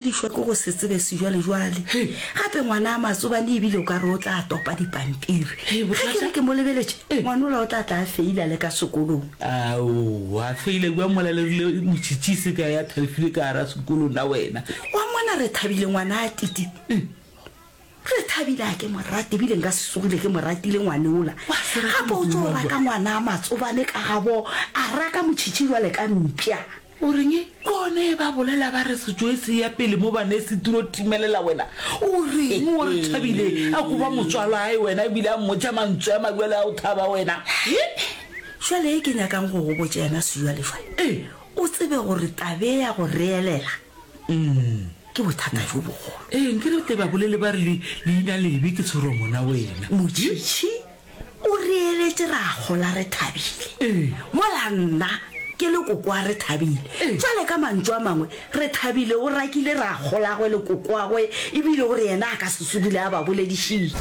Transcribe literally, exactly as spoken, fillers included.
Dišwa ke go se tsebe sejwalejwale. Gape ngwana a matsobane ebile o ka re o tla topa dipampiri. Ge ke re ke mo lebeletše, ngwanola o tla tla a feila le ka sekolong. Aowa, a feila bjang mola le rile motšhitšhi se ka ya thalefile ka gara sekolo na wena? Wa mmona Rethabile ngwana a Titi? Re thabile a ke mo rate ebile nka se tsogile ke mo ratile ngwaneola. Gape o tlo raka ngwana a matsobane ka gabo a raka motšhitšhi jwale ka mpša. O reng? Ke gona e ba bolela ba re setšo e se ya pele mo bana e se tiro timelela wena. O reng o re thabile a koba motswalwae wena ebile a mmotša mantswe a mabjale a o thaba wena? Jwale e ke nyakang go go botša yona sejwalejwale, o tsebe gore tabe ya go reelela ke bothata bjo bogolo. Ee, nke re tle ba bolele ba re le leina lebe ke tshoromo na wena. Motšhitšhi o reeletše ra gola re thabile, mola nna ke le kokoa re thabile. Jwale ka mantšu a mangwe, re thabile o rakile ra golagwe le kokoagwe ebile o re yena a ka se tsogile a ba boledišitše.